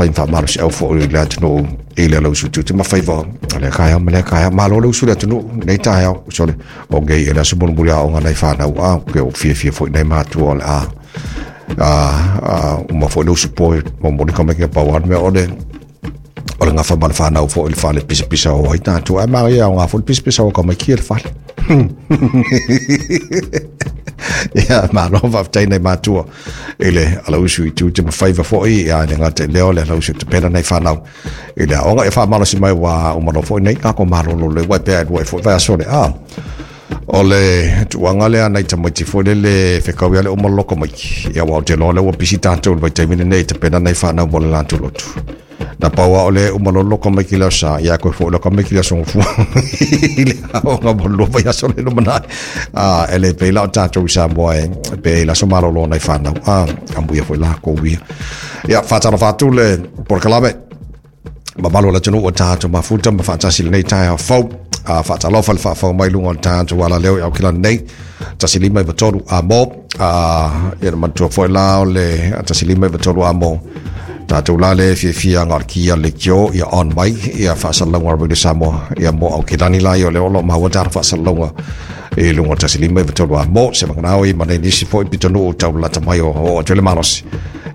Fai faamalosiau foi i le atunuu i le alausu tiute ma faiva o lea taeao ma lea taeao. Malo le usu i le atunuu lenei taeao. Sole, o nei e le aso mulimuli aoga nai fanau a, ke o fiafia foi nai matua o le a uma foi le usu po e momoli ka mai ke pau a le mea o le gafa ma le fanau foi i le fale pisapisa o ai tatou. Ae manaia aoga foi le pisapisa o ka mai kia i le fale. Ia, malo faafetai nai matua i le alausu i tiute ma faiva foi, ia le gata i lea o le alausu e tapena nai fanau i le aoga. Ia faamalosi mai ua uma loa foi nei tatou malolo le ua pea e lua e foi vaiaso le a. O le tuuaga lea nai tamaiti foi lele fekau ia le uma loko mai. Ia ua o te loa lea ua pisi tatou i le vaitaimi lenei e tapena nai fanau mo le latou lotu. Na pau a o le uma loa loka mai ki le aso sa, ia koe foi loka mai ki le aso gofua. I le aoga mo le lua vaiaso le lumanai. E le pei la o tatou i Samoa e pe i le aso malolo nai fanau. Amuia foi lakou ia. Ia, faatalofa atu le polokalame mamalu o le atunuu o tatou mafuta ma faatasi lenei taeao fou. Faatalofa le faafou mai luga o le tatou alaleo i Aukilani nei. 153 a mo. Ia na manatua foi la o le 153 a mo. Tatou la le fiafia nga o le kia le kio ia on mai ia faasalalauga o Radio Samoa ia mo Aukilani la ia o le o lo maua tara faasalalauga i luga o 153 a mo se manganao i ma nei nisi foi pitonuu tau lalata mai o o atu le malosi.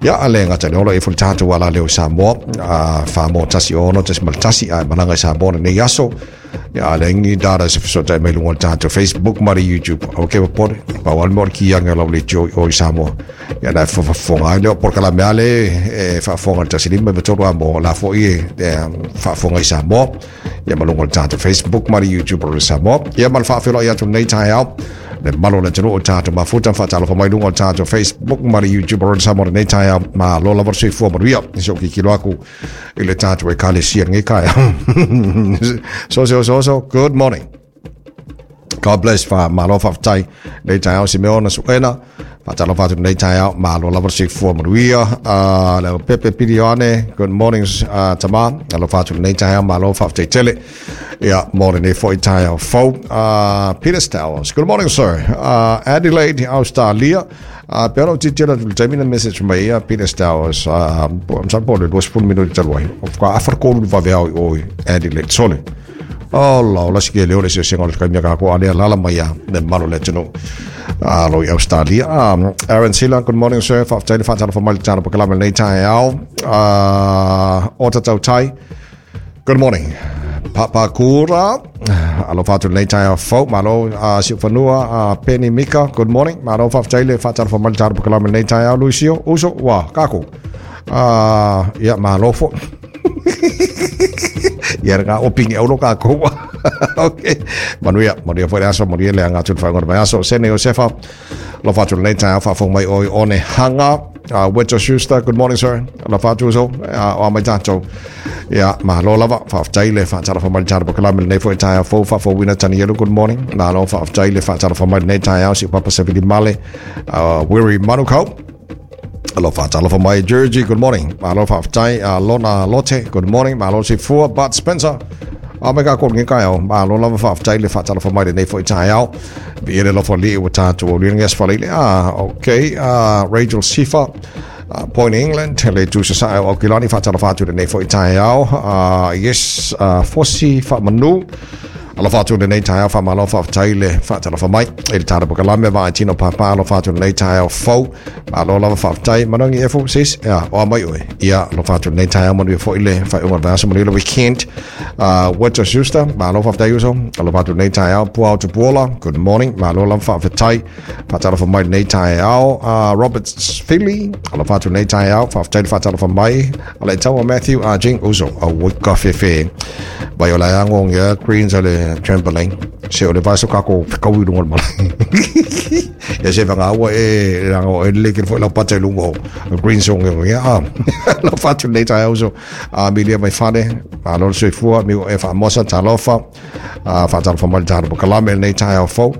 Ia ale ngata le olo e fuli tatou ala leo i Samoa wha mo 16.1 a malaga i Samoa nei aso. Ia ale ngi data se fesotai mai luga o le tatou Facebook ma le YouTube. O ke popole, pau ale mo le kianga lau le tio o i Samoa. Ia na fafafoga ai leo polokalame ale e faafofoga le 153 a mo la foi e faafofoga i Samoa. Ia ma luga o le tatou Facebook ma le YouTube o le Samoa. Ia ma le faafeiloai atu lenei taeao. Le malo le atunuu o tatou mafuta faatalofa mai luga o le tatou Facebook ma le YouTube o le Samoa lenei taeao. Malo lava le soifua manuia. Se o kikilo aku i le tatou ekalesia lenei taeao. So, so, so, so, good morning. God bless fa malo faafetai lenei taeao Simeona Suena. Faatalofa atu lenei taeao, malo lava le soifua manuia. Le Pepe Pilione, good morning tama. Alofa atu lenei taeao, malo faafetai tele. Ia, mo lenei foi taeao fou. Peter Stowers, good morning sir. Adelaide, Australia. Pe ona o titila atu le taimi na message mai ia Peter Stowers, masalo po o le 20 minute talu ai. O ka afa le kolu le vaveao i o i Adelaide. Sole. Oh la, o la sike leo le sesega o le kaimia ka ko alea lala mai ia le malo le atunuu. Lo i Australia. Aaron Sila, good morning sir. Faafetai le faatalofa mai le tala pakalama lenei taeao. O tatau tai. Good morning. Papakura. Alofa atu lenei taeao fou. Malo si ufanua Penny Mika. Good morning. Malo faafetai le faatalofa mai le tala pakalama lenei taeao. Luisio, uso, wa, kako. Ia, malo fo. Ia nga o pingi au lo kako. Okay. Manuia, manuia foi le aso, manuia le anga atu le whainga o le vaiaso. Sene Josefa, alofa atu lenei taeao faafofoga mai oi one hanga. Weto Schuster, good morning sir. Alofa atu uso, o a mai tatou. Ia, malo lava, faafetai le faatalofa mai le tala pakalame lenei foi taeao fou faafouina Tanielu, good morning. Malo faafetai le faatalofa mai lenei taeao si Papa Savili Male, Weary Manukau. Alofa talofa mai Georgie, good morning. Malo faafetai Lona Lote, good morning. Malo soifua Bart Spencer. A me ka ko ngi kai o. Malo lava faafetai le faatalofa mai lenei foi taeao. Bi ele lofa li ua tatou o lianga asfale le. Okay. Rachel Sifa. Point England, le tusa sa o Aukilani faatalofa atu lenei foi taeao. Yes, Fosi Faamanu. Alofa atu lenei taeao faamalo faafetai le faatalofa mai i le tala pakalame vaai tino papa alofa atu lenei taeao fou. Malo lava faafetai manangi efo sis ia o a mai oe. Ia alofa atu lenei taeao manuia foi le faaiuga o le vaiaso manuia le weekend. Weto Schuster, malo faafetai uso. Alofa atu lenei taeao Puao Tupuola, good morning. Malo lava faafetai faatalofa mai lenei taeao. Robert Philly, alofa atu lenei taeao faafetai le faatalofa mai. Ale taua Matthew Jing uso au wika fefe. Vai o la ango ngia greens ale trampoline. Se o le vaso kako fekaui lunga o le malae. Ia se vanga ua e ranga o e le ke foi lau pata i lunga o green song e ia. Alofa atu lenei taeao uso. Milia mai fale, malo le soifua, mi o e faamosa talofa. Faatalofa mai le talo pakalame lenei taeao fou.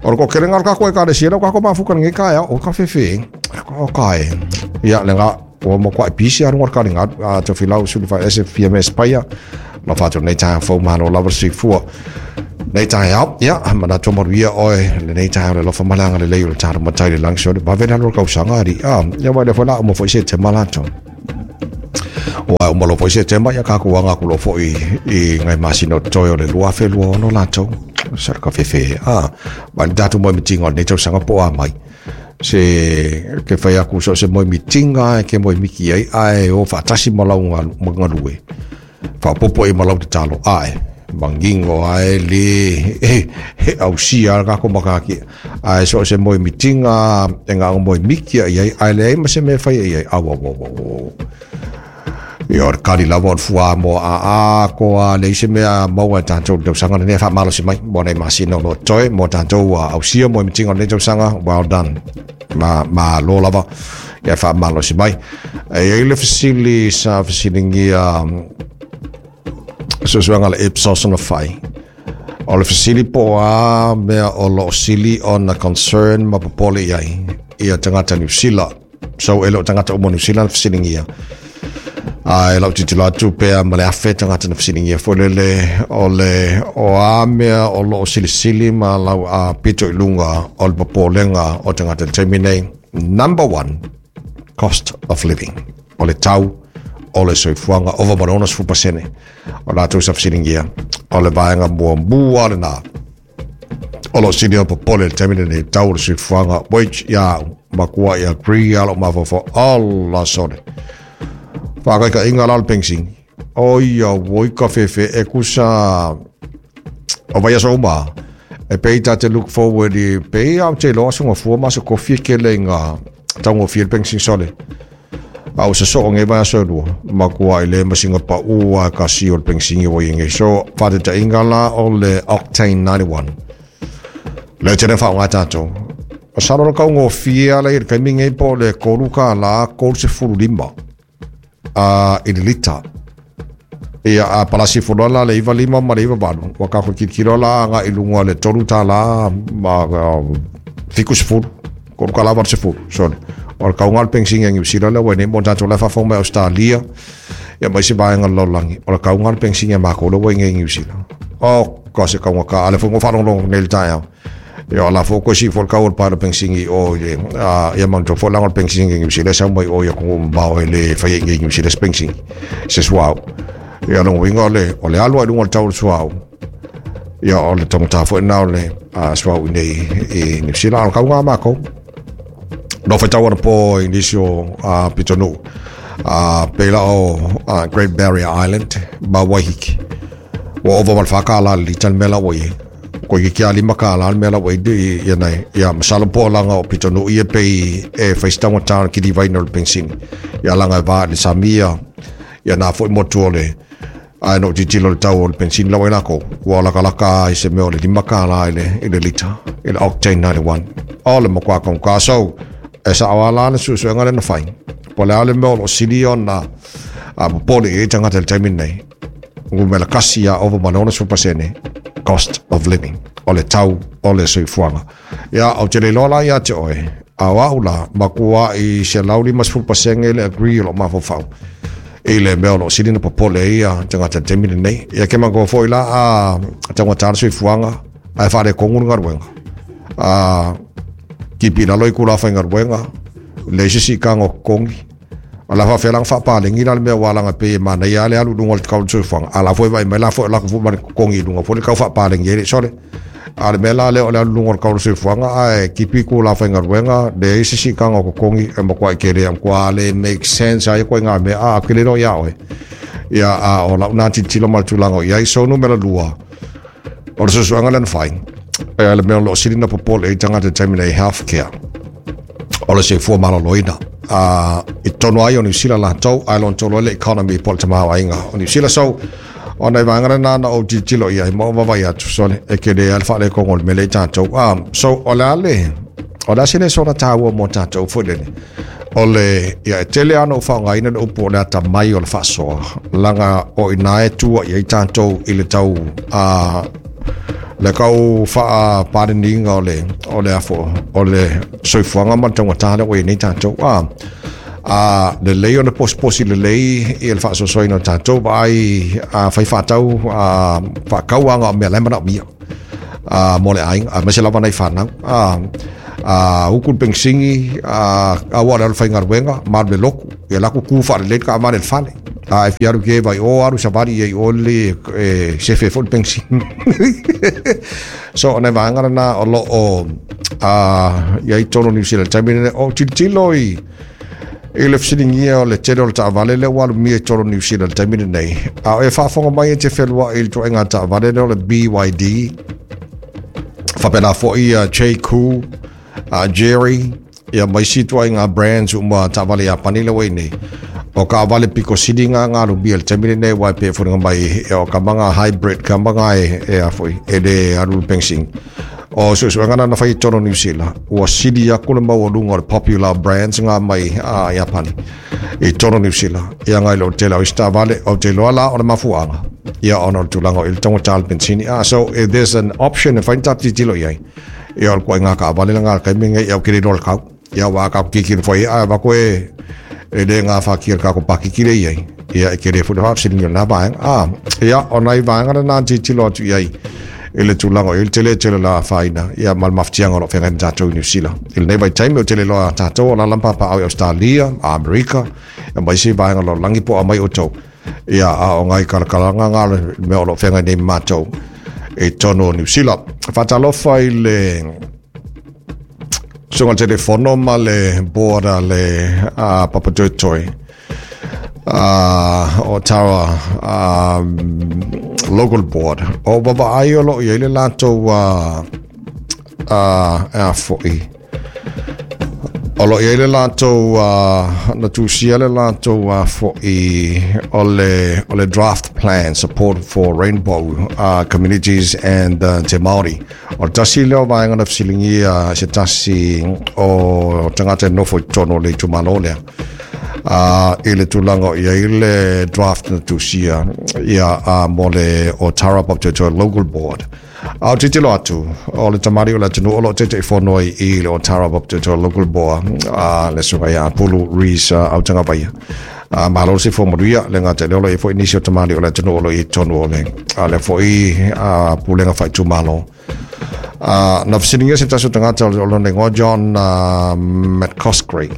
O le kokelenga o le kako e kalesia lau kako mafuka lenei taeao o ka fefe. O ka e. Ia le nga o mo kwa pisi aru ka linga te filau sulu fa ese fia me spaia. Alofa atu lenei taeao fou malo lava le soifua. Nei taeao, ia, manatu manuia oe lenei taeao le alofa malaga lelei o le talo matai le lagi sole. Vave lalo le kausaga ari. Ia vai le foi la o mo foi se te malato. Ua uma loa foi Setema, ia kākou aga aku loa foi i ngai masina o totoe o le 2026 latou. Sa le kafefe. Ah, mai le tatou moemitiga o lenei tausaga po o a mai. Se ke whai aku so se moemitiga e ke moemiki ai, ae o faatasi ma lau galue. Faaopoopo i ma lau tatalo, ae mangingo ae le he ausia le kako makaki. Ae so se moemitiga e ngā moemiki ai ai, ae leai ma se mea whai ai ai. Au, au, au, au, au. Ia, o le kali lava o le fua mo a a koa le se mea maua e tātou le tausaga lenei e faamalosi mai mo nei masina o lo o totoe mo tātou ausia moemitiga o lenei tausaga. Well done. Ma, malo lava ia faamalosi mai. E i ai le fesili sa fesiligia suesuega le Ipsos na fai. O le fesili po o a mea o lo o sili ona concern ma popole i ai ia tagata Niu Sila. So e le o tagata uma o Niu Sila na fesiligia. A e lau tilotilo atu pea ma le 1,000 tagata na fesiligia foi lele o le o a mea o lo o silisili ma lau a pito i luga o le popolega o tagata i le taimi nei. Number one, cost of living. O le tau o le soifuaga ova ma le 60% o latou sa fesiligia. O le vaega muamua lena o lo sili o popole le taimi lenei, tau o le soifuaga, which ia au makua i agree a lou mafaufau. Allah sole faakaikaʻiga la o le pengsini o ia oi ka fefe e kusa o vai aso uma e pei ta te look forward i pei au te loa aso ngafua ma aso kofi e kele i ngā taugofie le pengsini sole. A o se soo ngai vai aso e lua makua i le masinga pa ua ka si o le pengsini o i ngai. So faataitaiga la o le Octane 91 le tele whaonga tātou. O salo le kaugofie ala i le taimi nei po o le $3 35 a i le lita. Ia a palasi foloa la le 95 ma le 98. Ua kako kilokilo la aga i luga o le $3 ma 70. $3 80. Sorry. O le kauga o le pengsini a Niu Sila lea ua i nei mo tātou la e faafofoga mai Australia. Ia ma isi vaega o le lalolagi. O le kauga o le pengsini a mākou lea ua i nei i Niu Sila. O, ka se kauga ka ale foi ngo faalogologo nei le taeao. Ia o la fo ko si fo kau o le pae o le pengsini o i le ia manatua foi laga o le pengsini i Niu Sila e sau mai o i atunuu mamao e le faia i nei Niu Sila se pengsini se suauu. Ia lona uiga o le o le alu lava i luga o le tau o le suauu. Ia o le taugata foi lena o le suauu i nei i Niu Sila. A o le kauga a mākou. No whaitau ana pō i nisi o pitonuu. Pēlā o Great Barrier Island ma Waiheke. Ua ova ma le $4 le lita le mea la ua i ai. Ko i ke a $5 le mea la ua i ia nei. Ia masalo po o langa o pitonuu ia pei e whai taugata o le kilivaina o le pengsini. Ia langa e vā i le Samia. Ia nā foi motu o le ae no tilotilo le tau o le pengsini la ua i lākou. Ua lakalaka i se mea o le $5 i le lita, i le Octane 91. O le matua kaugata. So, e sao lava la le suesuega lea na fai. Po o le a le mea o lo o sili ona popole i ai tagata i le taimi lenei. Numera kasi ia ova ma le 60% cost of living. O le tau o le soifuaga. Ia, ou te le iloa la ia te oe, a o au la, matua i 150% le agree o lou mafaufau i le mea o lo o sili ona popole ai ia tagata i le taimi lenei. Ia ke manatua foi la a taugata le soifuaga ae faaletonu le galuega. A kipi i lalo i kula faigaluega, leai se siitaga o totogi. O la faafefea la ona faapaleni la le mea ua laga pei e manaia lava le alu i luga o le tau o le soifuaga. A la foi e vaai mai la foi o latou foi ma le totogi i luga foi le tau faapaleni ai le sole. A o le mea la lea o le alu i luga o le tau o le soifuaga ae kipi itula faigaluega, leai se siitaga o totogi e matuai tele e matua le make sense ai ituaiga mea a ou te le iloa ia oe. Ia a o lau na tilotilo ma le tulaga o i ai. So numera lua, o le suesuega lea na fai, e le mea o lo o sili ona popole ai tagata i le taimi nei, healthcare. O le soifua maloloina. I totonu ai o Niu Sila latou, ae lona tolu ai le economy po o le tamaoaiga o Niu Sila. So, o nai vaega lena na ou tilotilo i ai ma ou vaavaai atu, sole, e tele lava le faaletonu o le mea lea i tatou. So, o le a le, o le a se lesona taua mo tatou foi lele? O le, ia, e tele lava ona ou faaaogaina le upu o le atamai o le faasoa, laga o i ina e tua i ai tatou i le tau, le tau faapaleniina o le, o le afo, o le soifuaga ma le taugata lea ua i ai nei tatou. A lelei ona posiposi lelei i le faasoasoaina o tatou, vaai a fai faatau, a faakau aga o mea la e manaomia mo le aiga, aemaise lava nai fanau. A uku le penisini, a aua le alu faigaluega, ma alu i le lotu. Ia la ku ku faalelei le taavale i le fale. A e fia alu e keva i o, alu savali i ai i o lelei e sefe ai foi le penisini. So o nai vaega lena o lo o i ai totonu o Niu Sila i le taimi lenei. O tilotilo i i le fesiligia o le tele o le taavale lea ua alumia i totonu o Niu Sila i le taimi lenei, a o e faafofoga mai e te feluai i le ituaiga taavale lea o le BYD, faapena foi ia Jaecoo, Jerry, ia ma isi ituaiga brands uma taavale Iapani lea ua i nei. O taavale pito sili na na alumia i le taimi lenei, aua e pei e foliga mai o kamaga hybrid, kamaga e a foi, e le alu i le penisini. O suesuega na na fai i totonu o Niu Sila, ua sili atu le maualuga o le popular brands nga mai a Iapani i totonu o Niu Sila, ia ngai lo tele o isi taavale. Ou te iloa la o le mafuaaga, ia ona o le tulaga o i le taugata o le penisini. So if there's an option e fai ni tatou tilotilo i ai, ia o le ituaiga taavale lena i le taimi lenei, ia ou te le iloa le tau. Ia aua tatou tilotilo foi ai, a avatu e le gafatia le tatou pakiti lea i ai, ia e tele foi le faafesiligia o lena vaega. Ia o nai vaega lena na tilotilo atu i ai i le tulaga o i ai le tele tele o le afaina, ia ma le mafatiaga o lo o feagai ma tatou i Niu Sila i lenei vaitaimi. Ou te le iloa tatou o alaala ma papaaao i Ausetalia, Amerika, ia ma isi vaega o le lalolagi po o aumai outou. Ia, a o nai kalakalaga na le mea o lo o feagai nei ma matou i totonu o Niu Sila. Faatalofa i le susuga telefono ma le board a le Papa Toetoe o Tara Local Board. O vavaai o lo o i ai le latou a foi. O lo o i ai le latou na tusia le latou foi o le draft plan support for rainbow communities and te Māori. O le tasi lea o vaega na fesiligia se tasi o tagata e nofo i totonu o le itumalo lea. I le tulaga o i ai le draft na tusia ia mo le o Tara Papatoetoe Local Board. A o tilotilo atu, o le tamalii o le atunuu o lo o Taitaifono ai i le o Tara Papatoetoe Local Board, le susuga ia Pulu Rees Autagavaia. Malo le soifua manuia, le gata i lea o lo o i ai foi nisi o tamalii o le atunuu o lo o i ai i totonu o le lea foi pulega faaitumalo. Na fesiligia se tasi o tagata o lona igoa John McCoskrie,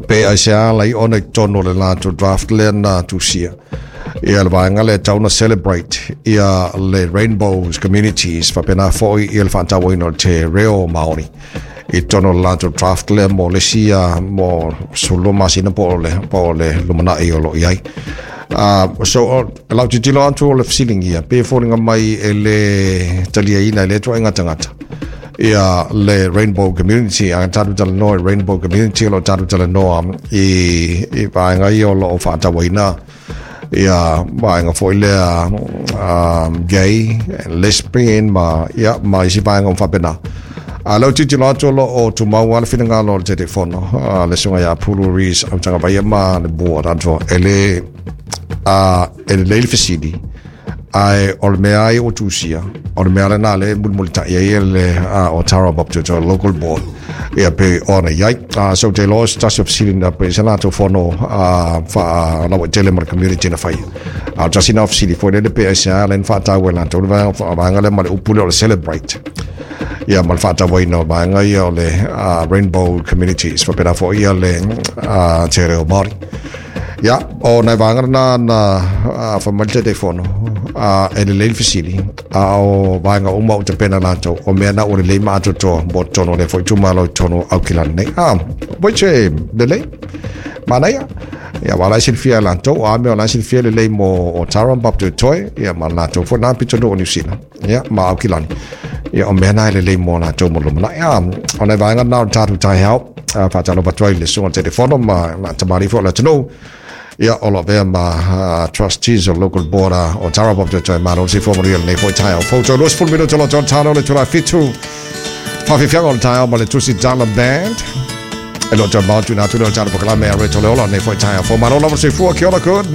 pe aisea ala ai ona i totonu o le latou draft lea na tusia ia le vaega lea e tau na celebrate ia le Rainbows Communities faapena foi ia le faatauaina o te reo Māori i totonu o le latou draft lea mo le isi mo 12 masina po o le lumanai o lo o i ai. So, lau tilotilo atu o le fesiligia, pe foliga mai e le taliaina e lea ituaiga tagata ia le Rainbow Community. A tatou talanoa i Rainbow Community, o lo o tatou talanoa i vaega ia o lo o faatauaina ia vaega foi lea gay and lesbian ma ia ma isi vaega uma faapena. A lau tilotilo atu o lo o tumau lava le finagalo o le Taitaifono, le susuga ia Pulu Rees Autagavaia ma le board atoa, e le e lelei le fesili, ae o le mea ai ua tusia, o le mea lena lea e mulimulitai ai le o Tara Papatoetoe Local Board ia pe ona i ai. So te iloa o se tasi o fesili na pe se latou fono faalauaitele ma le community na faia. A o le tasi na o fesili foi lele pe aisea lea na faataua e latou le vaega lea ma le upu lea o le celebrate. Ia ma le faatauaina o vaega ia o le Rainbow Communities faapena foi ia le te reo Māori. Ia, o nai vaega lena na fai mai le Taitaifono, e lelei le fesili, a o vaega uma ua tapena latou, o mea na ua lelei ma atoatoa mo totonu o lea foi itumalo i totonu o Aukilani nei. Which e lelei, manaia. Ia, aua o la e silafia e latou, o a mea o la e silafia e lelei mo Otara ma Papatoetoe, ia ma latou foi na pitonuu o Niu Sila, ia, ma Aukilani. Ia, o mea na e lelei mo latou mo le lumanai. O nai vaega na o le tatou taeao, faatalofa atu ai i le susuga i le Taitaifono ma tamalii foi o le atunuu, ia, o lo o avea ma trustees o local board o Tara Papatoetoe. Malo le soifua manuia i lenei foi taeao fou. Toe 20 minute o lo o toe talo le itula e 7. Faafiafiaga o le taeao ma le Tusi Dala Band. E lo o toe mau tuina atu lea o le tatou polokalame a Reto Leola lenei foi taeao fou. Malo lava le soifua. Kia ora, good.